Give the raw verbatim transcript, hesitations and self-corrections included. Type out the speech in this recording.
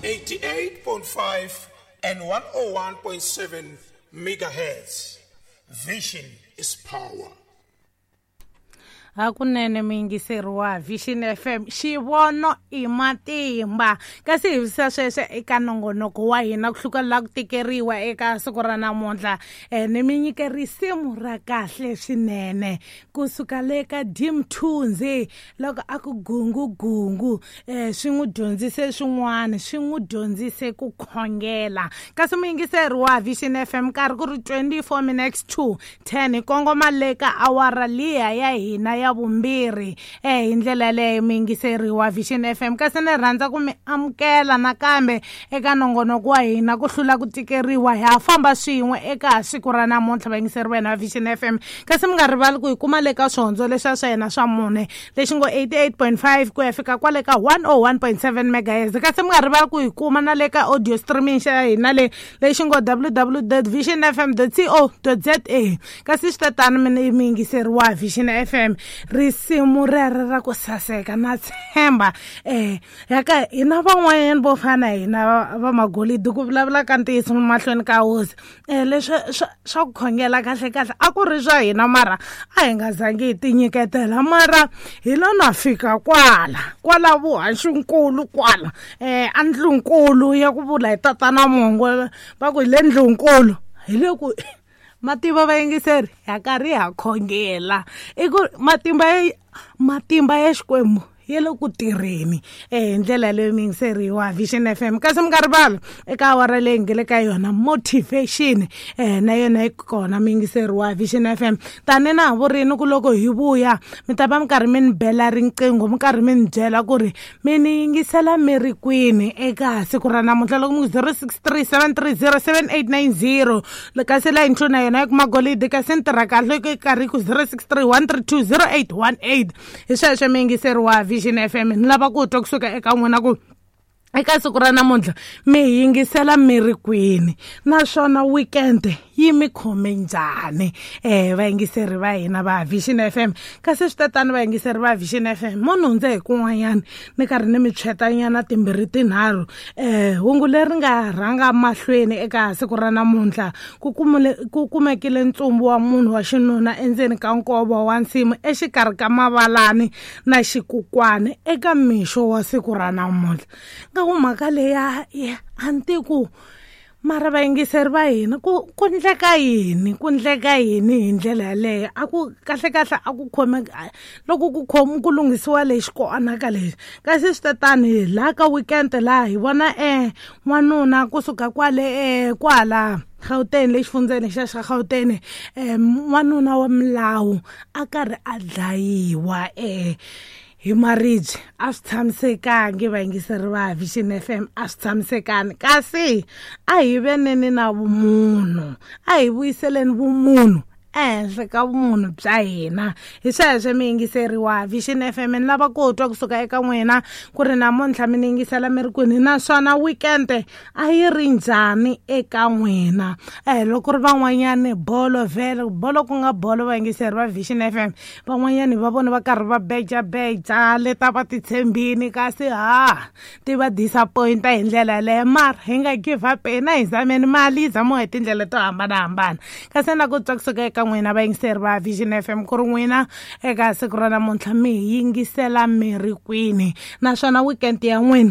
eighty-eight point five and one oh one point seven megahertz. Vision is power. Hakunene muyingiseri wa Vision F M, xivono i matimba. Kasi hi visa sweswo eka nongonoko wa hina ku hluka la ku tikeriwa eka siku ra namuntlha. Eh, ni mi nyike risimu ra kahle swinene kusuka le ka Dim Thunzi loko a ku gungu gungu. Eh, swi n'wi dyondzise swin'wana, swi n'wi dyondzise ku khongela. Kasi muyingiseri wa Vision F M nkarhi ku ri twenty-four minutes to ten, hi kongoma le ka awara liya ya hina ya vumbirhi. Eh, hi ndlela leyo muyingiseri wa Vision F M, kasi ni rhandza ku mi amukela nakambe eka nongonoko wa hina ku hlula ku tikeriwa. Ha famba swin'we eka siku ra namuntlha vayingiseri va hina va Vision F M. Kasi mi nga rivali ku hi kuma le ka swihondzo leswiya swa hina swa mune lexi ngo eighty-eight point five ku ya fika kwale ka one oh one point seven megahertz. Kasi mi nga rivali ku hi kuma na le ka audio streaming xa hina le lexi ngo w w w dot vision f m dot co dot z a. Kasi swi ta tani mi muyingiseri wa Vision F M, risimu rero ra ku saseka na tshemba. Eh, yaka hina van'wanyana vo fana hina va, va magolidi ku vulavula ka ntiyiso mahlweni ka hosi. Eh, leswi swa, swa ku khongela kahle kahle a ku ri swa hina, mara a hi nga zangi hi tinyiketela, mara hi lo na fika kwala kwala vuhaxinkulu kwala, eh, a ndlunkulu ya ku vula hi tatana Mongo va ku hi le ndlunkulu, hi le ku matimba vayingiseri ya karhi ha khongela. I ku matimba ya, matimba ya Xikwembu ya le ku tirheni. Eh, hi ndlela leyo muyingiseri wa Vision F M. Kasi mi nga rivali eka awara leyi nge le ka yona motivation, eh, na yona yi kona muyingiseri wa Vision F M. Tani na ha vurini ku loko hi vuya mi ta va mi karhi mi ni bela riqingho, mi karhi mi ni byela ku ri mi ni yingisela mi ri kwini eka siku ra namuntlha. Loko mi ku zero six three seven three zero seven eight nine zero, kasi layini ntlhanu na yona yi kuma golidi, kasi ni tirha kahle yi karhi yi ku zero six three one three two zero eight one eight. Hi sweswo muyingiseri wa Vision F M, ni lava ku twa kusuka eka n'wina ku eka siku ra namuntlha mi yingisela mi ri kwini, naswona weekend yi mi khome njhani. Eh, vayingiseri va hina va Vision F M. Kasi swi tatani vayingiseri va Vision F M, mo ni hundze hi kun'wanyana ni karhi ni mi tshwetanyana timbirhi tinharhu. Eh, hungu leri nga rhanga mahlweni eka siku ra namuntlha, ku kumule, ku kumekile ntsumbu wa munhu wa xinuna endzeni ka nkova wa nsimu exikarhi ka Mavalani na Xikukwani eka mixo wa siku ra namuntlha. Nga ku mhaka leya ya a ni tivi ku mara vayingiseri va hina ku, ku ndleka yini, ku ndleka yini hi ndlela yaleyo. A ku kahle kahle a ku khome, loko ku khomi ku lunghisiwa lexi ku onhaka lexi. Kasi swi ta tani laha ka weekend laha hi vona, eh, n'wanuna kusuka kwale, eh, kwala Gauteng, le xifundzeni xa xa Gauteng, eh, n'wanuna wa milawu a karhi a dlayiwa, eh, hi maribye. A swi tshamisekangi vayingiseri va Vision F M, a swi tshamisekangi. Kasi a hi veneni na vumunhu, a hi vuyiseleni vumunhu ehenhla ka vumunhu bya hina. Hi sweswo muyingiseri wa Vision F M, ni lava ku twa kusuka eka n'wina ku ri namuntlha mi ni yingisela mi ri kwini, naswona weekend a yi ri njhani eka n'wina. Eh, loko ri van'wanyani bolo vhele, bolo ku nga bolo vayingiseri va Vision F M, van'wanyani va vona va karhi va bejabeja leta va titshembini, kasi ha ti va disappointa hi ndlela yaleyo. Mara hi nga give up, hina hi zameni mali yi zamiwa hi tindlela to hambanahambana. Kasi na ku twa kusuka eka n'wina vayingiseri va Vision F M ku ri n'wina eka siku ra namuntlha mi hi yingisela mi ri kwini, naswona weekend ya n'wina